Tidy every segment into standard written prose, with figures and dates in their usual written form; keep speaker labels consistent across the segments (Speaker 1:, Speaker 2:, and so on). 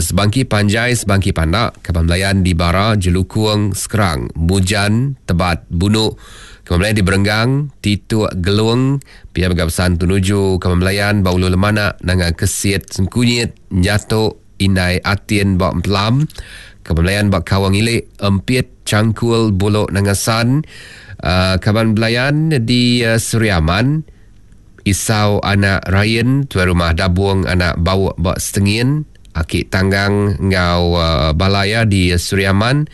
Speaker 1: Sebangki Panjai, Sebangki Pandak, Kaban Belayan di Bara, Jelukung, Skrang, Mujan, Tebat, Bunu, Kaban Belayan di Berenggang, Tituk, Gelung, pia mega pesan tu nuju Kaban Belayan ba Ulu Lemanak, Nanga Kesit, Sengkunyit, Nyatok, Indai Atin ba Empelam, Kaban Belayan ba Kawang Ilik, Empit, Changkul, Bulok Nanga San, Kaban Belayan di Seri Aman, Isau anak Rain, Tuai Rumah Dabung anak Bauk ba Setengin, Aki Tanggang enggau bala iya di Sri Aman,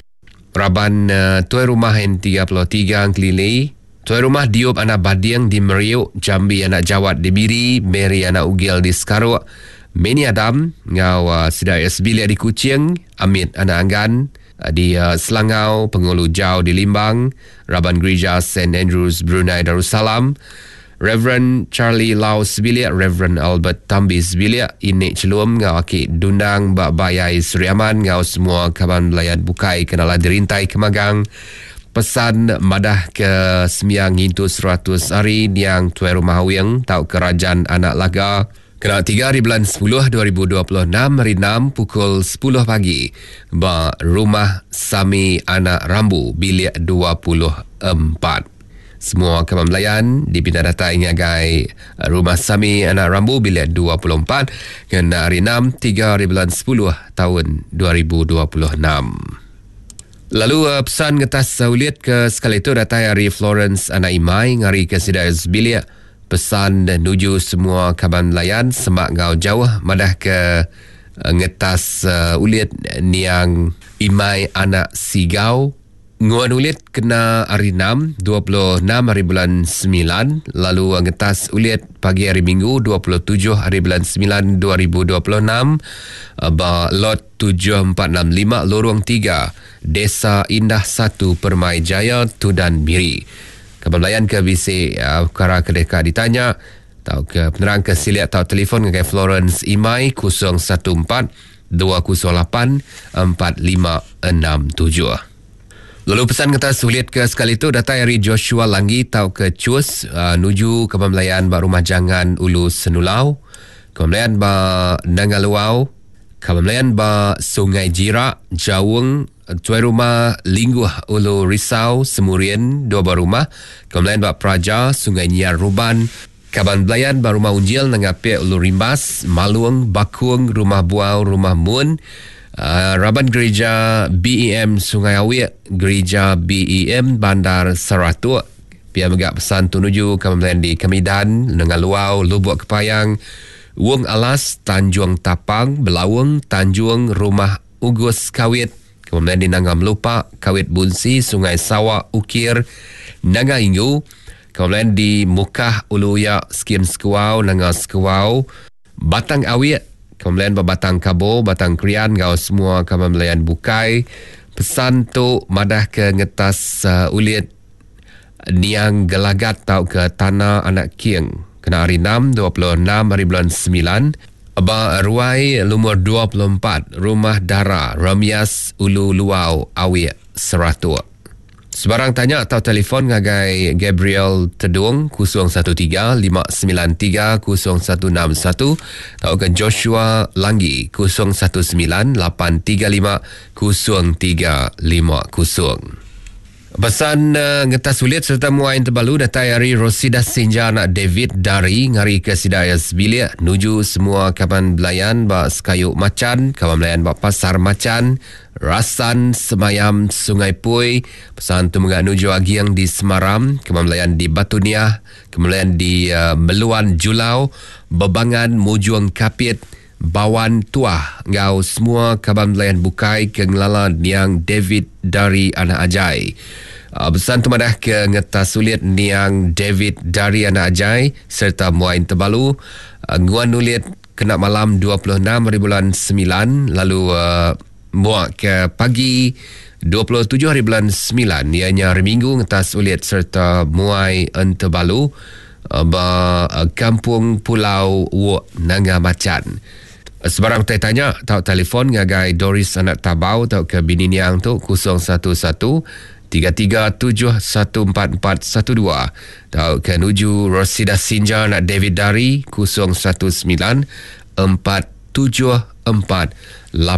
Speaker 1: raban Tuai Rumah N33 Engkelili, Tuai Rumah Diop anak Bading di Meriuk, Jambi anak Jawat di Miri, Mary anak Ugil di Sekaruk, Meni Adam enggau sida iya sebilik di Kuching, Amit anak Anggan di Selangau, Pengulu Jau di Limbang, raban Gerija Saint Andrews Brunei Darussalam, Reverend Charlie Lau sebilik, Reverend Albert Tambi sebilik, Inik Chelum enggau Aki Dundang ba Bayai Sri Aman enggau semua kaban belayan bukai ke nala dirintai ke magang pesan madah ke sembiang ngintu 100 hari niang Tuai Rumah Awing tauka Rajan Anak Laga. Kena 3 hari bulan 10 2026 hari 6 pukul 10 pagi ba Rumah Sami Anak Rambu Bilik 24. Semua kaban belayan dipinta datai ngagai Rumah Sami Anak Rambu Bilik 24 kena hari 6 3 hari bulan 10 taun 2026. Lalu pesan ngetas ulit ke sekali tu datai ari Florence Anak Imai ngarika sida sebilik Pesan nuju semua kaban belayan semak enggau jauh madah ke ngetas ulit niang Imai anak Sigau nguan ulit kena hari 6, 26 hari bulan 9 lalu ngetas ulit pagi hari Minggu 27 hari bulan 9 2026 ba lot 7465 Lorong 3 Desa Indah 1 Permai Jaya Tudan Miri. Kaban belayan ke bisi pekara ke deka ditanya tauka penerang ke silik tau telefon ngagai Florence Imai 014 208 4567. Lalu pesan kata sulit ke sekali tu datai ari Joshua Langgi tauka Chus nuju kaban belayan ba Rumah Jangan Ulu Senulau, kaban belayan ba Nanga Luau, kaban belayan ba Sungai Jirak, Jaung, Tuai Rumah Lingguh Ulu Risau Semurian dua buah rumah, Kaban Belayan ba Praja, Sungai Nyiar Ruban, Kaban Belayan ba Rumah Unjil Nanga Pek Ulu Rimbas, Malung, Bakung, Rumah Buau, Rumah Mun, Raban Gerija BEM Sungai Awik, Gerija BEM Bandar Saratok. Pia mega pesan tu nuju Kaban Belayan di Kemidan, Nanga Luau, Lubok Kepayang, Wong Alas, Tanjung Tapang, Belaung, Tanjung, Rumah Ugus Kawit, kemudian di Nanga Melupa, Kawit Bunsi, Sungai Sawa, Ukir, Nanga Ingu, kemudian di Mukah, Ulu Uya, Skim Sekuau, Nanga Sekuau, Batang Awik, kemudian ba Batang Kabo, Batang Krian enggau semua kaban belayan bukai. Pesan tu madah ke ngetas uh, ulit niang Gelagat tauka Tana Anak King kena hari 6, 26 hari bulan 9 Ba ruai lumur 24, Rumah Dara, Remias, Ulu Luau, Awik, Seratok. Sebarang tanya atau telefon ngagai Gabriel Tedung 013 593 0161 tauka Joshua Langgi 019 835 0350. Pesan ngetas ulit sereta muai entebalu datai ari Rosidah Sinja anak David Dari ngarika sida iya sebilik nuju semua kaban belayan ba Sekayu Machan, kaban belayan ba Pasar Machan, Rasan, Semayam, Sungai Pui. Pesan tu mega nuju Aging di Semaram, kaban belayan di Batu Niah, kaban belayan di Meluan Julau, Bebangan Mujung Kapit, Bawan Tuah enggau semua kaban belayan bukai ke ngelala niang David Dari Anak Ajai. Besan tu madah ke ngetas ulit niang David Dari Anak Ajai sereta Muain Tebalu nguan ulit kena malam 26 hari bulan 9 lalu muak ke pagi 27 hari bulan 9 iya nya hari Minggu ngetas ulit sereta muai Entebalu ba Kampung Pulau Wok Nanga Machan. Sebarang utai tanya tau telefon ngagai Doris Anak Tabau tauka bini niang tu 011 337 1412 tauka nuju Rosida Sinja anak David Dari 019 474.